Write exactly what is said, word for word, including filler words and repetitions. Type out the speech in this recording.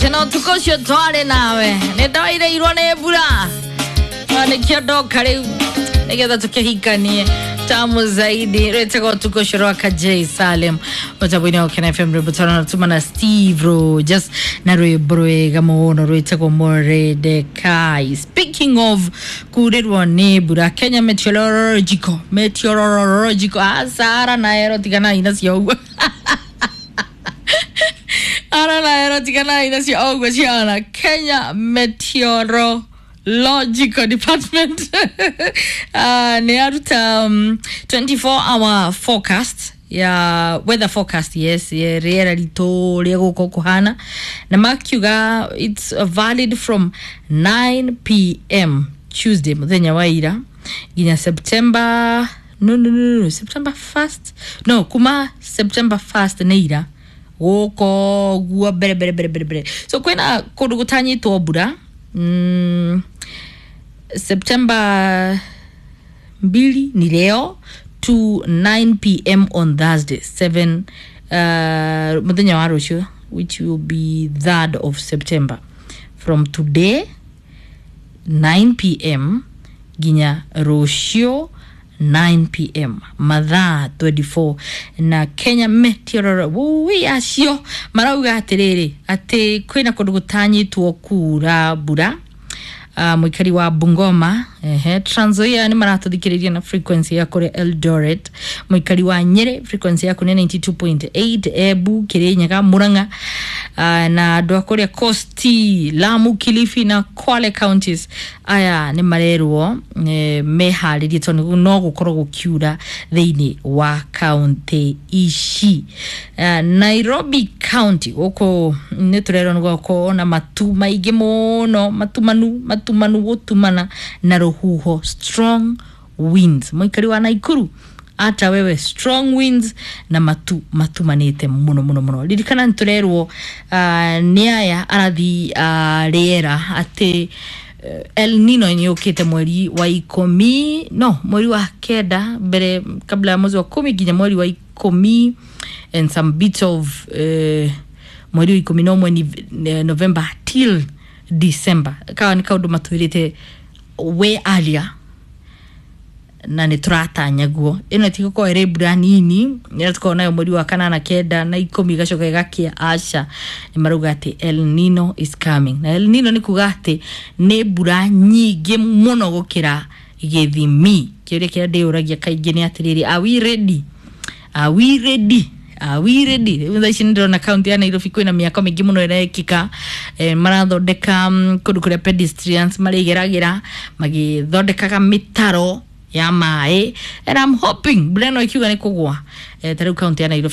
Tena ũtukũ ũcio twarĩ nawe nĩ ndawairĩirwo nĩ mbura na nĩkĩo ndoka rĩu nĩgetha tũkĩhikanie tamu zaidi rwĩtagwo ũtukũ ũcio rwa Kajay Salem mũtambo-inĩ wa Kena F M rwĩmbo twana na Steve Rogers na rwĩmbo rwega mũno rwĩtagwo Moredekai. Speaking of kurĩrwo nĩ mbura, Kenya Meteorological Meteorological asara na ero tiganai nacio ũguo ara na ero tiganai nacio ũguo ciana. Kenya Meteorological Department uh, nĩ aruta um, twenty-four hour forecast ya weather forecast, yes, ya rĩera ritũ rĩa gũkũ kũhana, na makiuga it's valid from nine p m. Tuesday, mũthenya wa ira, nginya September, no, no, no, no, September first, no, kuma September first nĩ ira gũkũ guo mbere mbere mbere mbere mbere. So kwĩna kũndũ gũtanyĩtwo mbura mm, September mbili ni leo to nine p m on Thursday seven, uh, muthenya wa rũciũ, which will be third of September, from today nine p m nginya rũciũ nine p m, mathaa mĩrongo ĩĩrĩ na merĩ. Na Kenya Meteorology acio marauga atĩrĩrĩ atĩ kwĩna kũndũ gũtanyĩtwo kura mbura. uh, mũikari wa Bungoma, ehe, Trans Nzoia nĩ maratũthikĩrĩria na frequency ya kũrĩa Eldoret. Mũikari wa Nyĩrĩ, frequency yaku nĩ ninety-two point eight. Embu, Kirinyaga, Murang'a, uh, na andũ a kũrĩa Coast, Lamu, Kilifi na Kwale counties, aya nĩ marerwo eh, meharĩrie tondũ no gũkorwo gũkiura thĩinĩ wa kaunti ici. uh, Nairobi County gũkũ nĩ tũrerwo nĩ gũkorwo na matu maingĩ mũno, matumanu matumanu, gũtumana na rũhuho, strong winds. Mũikari wa Naikuru ata wewe, strong winds na matu matumanĩte mũno mũno mũno. Ririkana nĩ tũrerwo uh, nĩ aya arathi uh, rĩera atĩ uh, El Nino nĩ yũkĩte mweri wa ikũmi, no mweri wa kenda mbere, kabla ya mwezi wa kumi nginya mweri wa ikũmi and some bits of uh, mweri wa ikũmi na ũmwe ni- November till December. Kawa nĩ kaũndũ matwĩrĩte we earlier na nä tå ratanya guo ä no tigåkorwo ä mbura nini ä tũkorwo nayo mweri wa kanana, kenda na ikũmi, igacoka ĩgakia. Aca, nĩ marauga atĩ El Nino is coming, na El Nino nĩ kuga atĩ nĩ mbura nyingĩ mũno gũkĩra gĩthimi. Kĩũria kĩrĩa ndĩyũragia kaingĩ nĩ atĩrĩrĩ, are we ready? Are we ready? Are we ready? Rĩu thaa ici nĩ ndĩrona kaunti ya Nairobi kwĩna mĩako mĩingĩ mũno ĩrekĩka, eh, marathondeka mm, kũndũ kũrĩa pedestrians marĩgeragĩra, magĩthondekaga mĩtaro ya maĩ, and I'm hoping mbura ĩno ĩkiuga nĩ kũgwa, eh, ta rĩu kaunti ya Nairobi.